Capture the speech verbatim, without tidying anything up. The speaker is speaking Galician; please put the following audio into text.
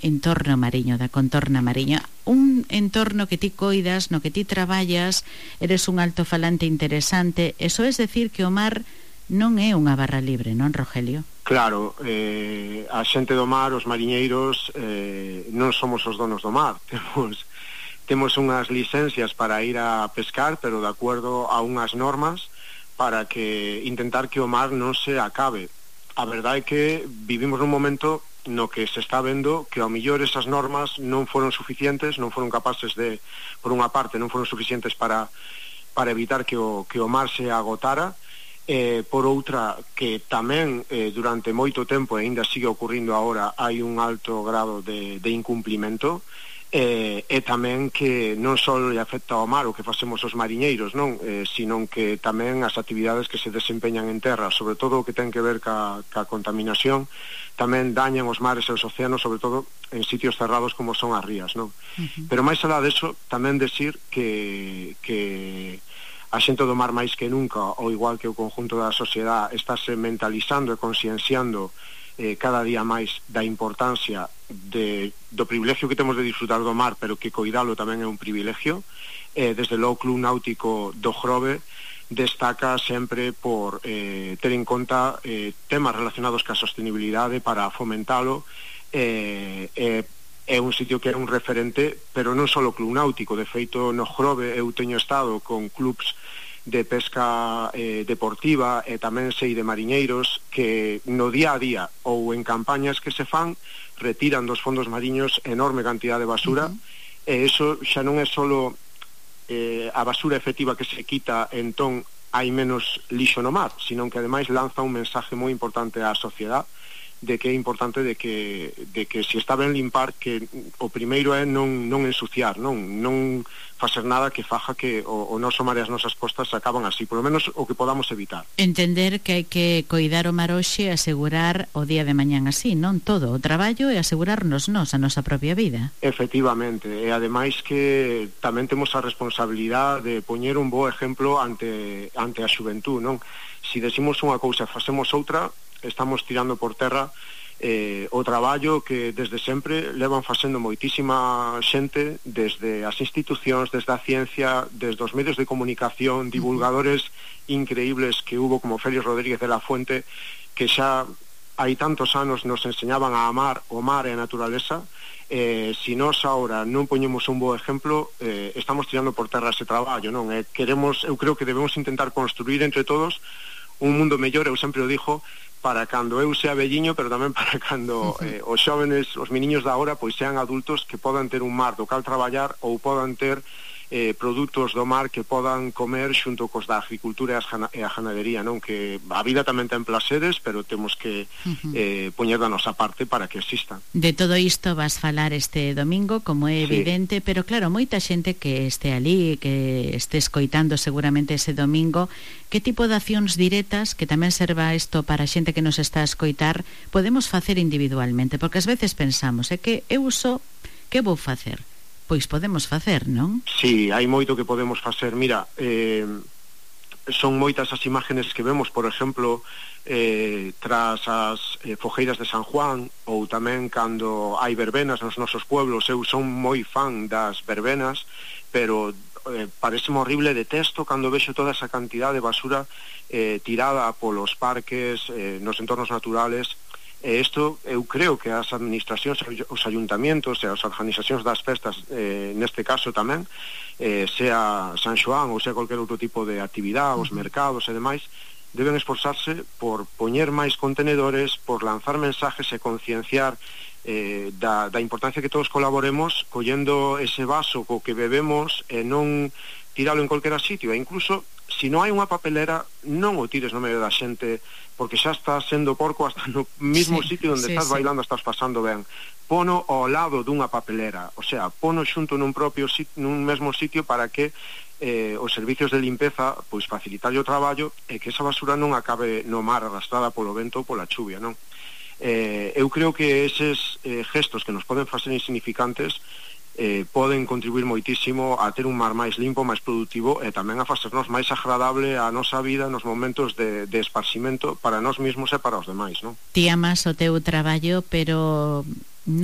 entorno mariño, da contorna mariña, un entorno que ti coidas, no que ti traballas, eres un altofalante interesante. Eso es decir que o mar non é unha barra libre, non, Rogelio? Claro, eh, a xente do mar, os mariñeiros, eh, non somos os donos do mar. Temos, temos unhas licencias para ir a pescar, pero de acordo a unhas normas para que intentar que o mar non se acabe. A verdade é que vivimos nun momento no que se está vendo que ao millor esas normas non foron suficientes, non foron capaces de, por unha parte, non foron suficientes para, para evitar que o, que o mar se agotara, eh, por outra, que tamén eh, durante moito tempo, e ainda sigue ocurrindo agora, hai un alto grado de, de incumplimento, eh, e tamén que non só lle afecta ao mar o que facemos os mariñeiros, non, eh, sino que tamén as actividades que se desempeñan en terra, sobre todo o que ten que ver ca, ca contaminación, tamén dañan os mares e os océanos, sobre todo en sitios cerrados como son as rías, non? Uh-huh. Pero máis alá deso, tamén decir que, que a xente do mar máis que nunca, ou igual que o conjunto da sociedade, estáse mentalizando e conscienciando eh, cada día máis da importancia de, do privilegio que temos de disfrutar do mar, pero que coidalo tamén é un privilegio. Eh, desde o Club Náutico do Grove destaca sempre por eh, ter en conta eh, temas relacionados ca sostenibilidade para fomentalo. eh, eh, é un sitio que é un referente, pero non só o Club Náutico. De feito, no Grove eu teño estado con clubs de pesca eh, deportiva e tamén sei de mariñeiros que no día a día ou en campañas que se fan retiran dos fondos mariños enorme cantidad de basura. Uh-huh. E iso xa non é solo eh, a basura efectiva que se quita, entón hai menos lixo no mar, sino que ademais lanza un mensaje moi importante á sociedade de que é importante de que, de que se está ben limpar, que o primeiro é non, non ensuciar, non, non facer nada que faja que o, o noso mar e as nosas costas se acaban así, por lo menos o que podamos evitar. Entender que hai que coidar o mar hoxe e asegurar o día de mañán así, non todo, o traballo e asegurarnos nos a nosa propia vida. Efectivamente, e ademais que tamén temos a responsabilidade de poñer un bo exemplo ante, ante a xuventud, non? Si decimos unha cousa e facemos outra, estamos tirando por terra eh, o traballo que desde sempre levan facendo moitísima xente, desde as institucións, desde a ciencia, desde os medios de comunicación, divulgadores increíbles que hubo como Félix Rodríguez de la Fuente, que xa hai tantos anos nos enseñaban a amar o mar e a naturaleza. Eh, si nós agora non poñemos un bo exemplo, eh, estamos tirando por terra ese traballo, non? Eh, queremos, eu creo que debemos intentar construir entre todos un mundo mellor, eu sempre o dixo, para cando eu sea velliño, pero tamén para cando eh, os xóvenes, os meniños da hora, pois sean adultos que podan ter un mar do cal traballar ou podan ter eh, produtos do mar que podan comer xunto cos da agricultura e a ganadería, non? Que a vida tamén ten placeres, pero temos que eh, poñer da nosa parte para que existan. De todo isto vas falar este domingo, como é evidente, sí. Pero claro, moita xente que este ali, que este escoitando seguramente ese domingo, que tipo de accións directas, que tamén serva isto para a xente que nos está a escoitar, podemos facer individualmente? Porque ás veces pensamos, é que eu só, que vou facer? Pois podemos facer, non? Sí, hai moito que podemos facer. Mira, eh, son moitas as imágenes que vemos, por exemplo, eh, tras as eh, fogueiras de San Juan, ou tamén cando hai verbenas nos nosos pueblos. Eu son moi fan das verbenas, pero eh, pareceme horrible, detesto cando vexo toda esa cantidad de basura eh, tirada polos parques, eh, nos entornos naturales. E isto, eu creo que as administracións, os ayuntamientos e as organizacións das festas, eh, neste caso tamén, eh, sea San Xoán ou sea cualquier outro tipo de actividade, os mercados e demais, deben esforzarse por poñer máis contenedores, por lanzar mensajes e concienciar eh, da, da importancia que todos colaboremos collendo ese vaso co que bebemos e non tiralo en cualquier sitio, e incluso se non hai unha papelera, non o tires no medio da xente, porque xa estás sendo porco hasta no mismo sí, sitio onde sí, estás sí. bailando, estás pasando ben. Pono ao lado dunha papelera, o sea, pono xunto nun propio sitio, nun mesmo sitio, para que eh, os servicios de limpeza pois facilitarlle o traballo e que esa basura non acabe no mar arrastrada polo vento ou pola chuvia, non? Eh, eu creo que eses eh, gestos que nos poden facer insignificantes Eh, poden contribuir moitísimo a ter un mar máis limpo, máis productivo, e tamén a facernos máis agradable a nosa vida nos momentos de, de esparcimento para nós mesmos e para os demais, non? Ti amas o teu traballo, pero non